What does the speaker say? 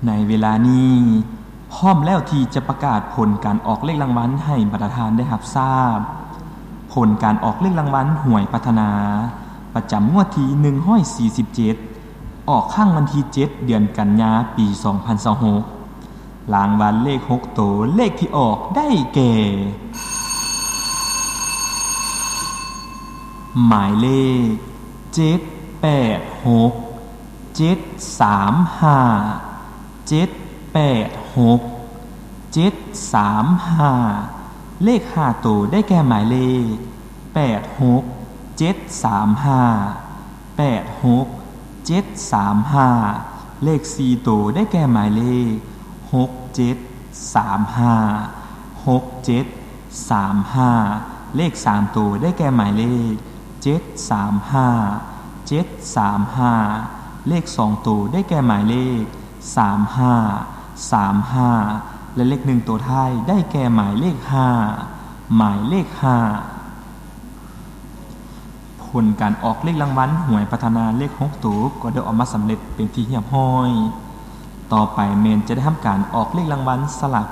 ໃນເວລານີ້ ພ້ອມແລ້ວທີ່ຈະປະກາດຜົນການອອກເລກລາງວັນໃຫ້ບັນດາທ່ານໄດ້ຮັບຊາບ. ຜົນການອອກເລກລາງວັນຫວຍພັດທະນາ ປະຈຳງວດທີໜຶ່ງຮ້ອຍສີ່ສິບເຈັດ ອອກຄັ້ງວັນທີເຈັດ ເດືອນກັນຍາ ປີສອງພັນຊາວຫົກ. ລາງວັນເລກຫົກໂຕ ເລກທີ່ອອກໄດ້ແກ່ ໝາຍເລກ ເຈັດແປດຫົກ ເຈັດສາມຫ້າ ເຈັດແປດຫົກ ເຈັດສາມຫ້າ. ເລກຫ້າໂຕໄດ້ແກ່ໝາຍເລກ ແປດຫົກ ເຈັດສາມຫ້າ ແປດຫົກ ເຈັດສາມຫ້າ. ເລກສີ່ໂຕໄດ້ແກ່ໝາຍເລກ ຫົກເຈັດສາມຫ້າ ຫົກເຈັດສາມຫ້າ. ເລກສາມໂຕໄດ້ແກ່ໝາຍເລກ ເຈັດສາມຫ້າ ເຈັດສາມຫ້າ. ເລກສອງໂຕໄດ້ແກ່ໝາຍເລກ ສາມຫ້າ ສາມຫ້າ ແລະ ເລກໜຶ່ງໂຕທ້າຍໄດ້ແກ່ໝາຍເລກຫ້າ ໝາຍເລກຫ້າ. ຜົນການອອກເລກລາງວັນຫວຍພັດທະນາເລກຫົກໂຕກໍໄດ້ອອກມາສຳເລັດເປັນທີ່ຮຽບຮ້ອຍ. ຕໍ່ໄປແມ່ນຈະໄດ້ທຳການອອກເລກລາງວັນສະຫຼາກ